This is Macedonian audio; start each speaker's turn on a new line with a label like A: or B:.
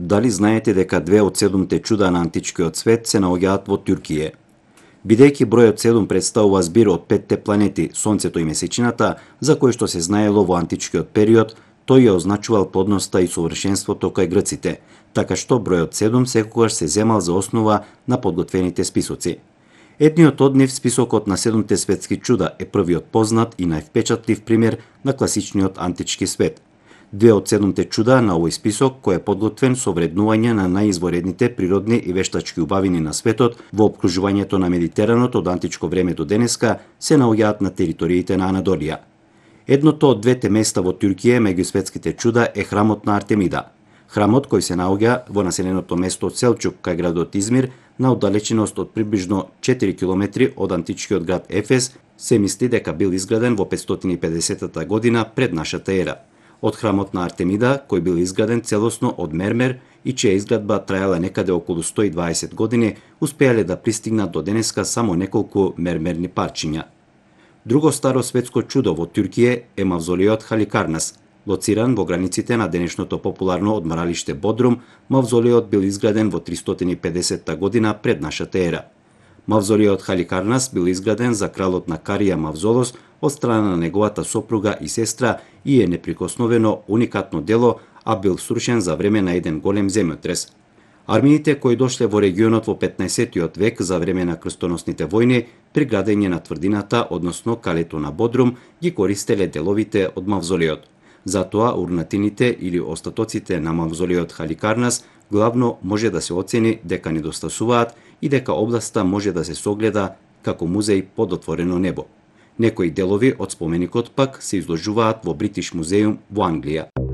A: дали знаете дека 2 од 7 чуда на античкиот свет се наоѓаат во Туркија? Бидејќи бројот 7 представува збир од 5 планети, Сонцето и Месечината, за кои што се знаело во античкиот период, тој ја означувал плодноста и совршенството кај грците, така што бројот 7 секогаш се земал за основа на подготвените списоци. Едниот од нив, списокот на 7 светски чуда, е првиот познат и највпечатлив пример на класичниот антички свет. 2 од 7 чуда на овој список, кој е подготвен со вреднување на најизворедните природни и вештачки убавини на светот во опкружувањето на Медитеранот од античко време до денеска, се наоѓаат на териториите на Анадолија. Едното од двете места во Туркија меѓу светските чуда е храмот на Артемида. Храмот, кој се наоѓа во населеното место Селчук кај градот Измир, на оддалеченост од приближно 4 километри од античкиот град Ефес, се мисли дека бил изграден во 550 година пред нашата ера. Од храмот на Артемида, кој бил изграден целосно од мермер и чија изградба траела некаде околу 120 години, успеале да пристигнат до денеска само неколку мермерни парчиња. Друго старо светско чудо во Туркија е мавзолеот Халикарнас. Лоциран во границите на денешното популарно одморалиште Бодрум, мавзолеот бил изграден во 350 година пред нашата ера. Мавзолеот Халикарнас бил изграден за кралот на Карија Мавзолос од страна на неговата сопруга и сестра и е неприкосновено уникатно дело, а бил срушен за време на еден голем земјотрес. Армиите кои дошле во регионот во 15-тиот век за време на крстоносните војни, при градење на тврдината, односно калето на Бодрум, ги користеле деловите од мавзолеот. Затоа урнатините или остатоците на мавзолеот Халикарнас главно може да се оцени дека недостасуваат и дека областа може да се согледа како музеј под отворено небо. Некои делови од споменикот пак се изложуваат во Бритиш музеум во Англија.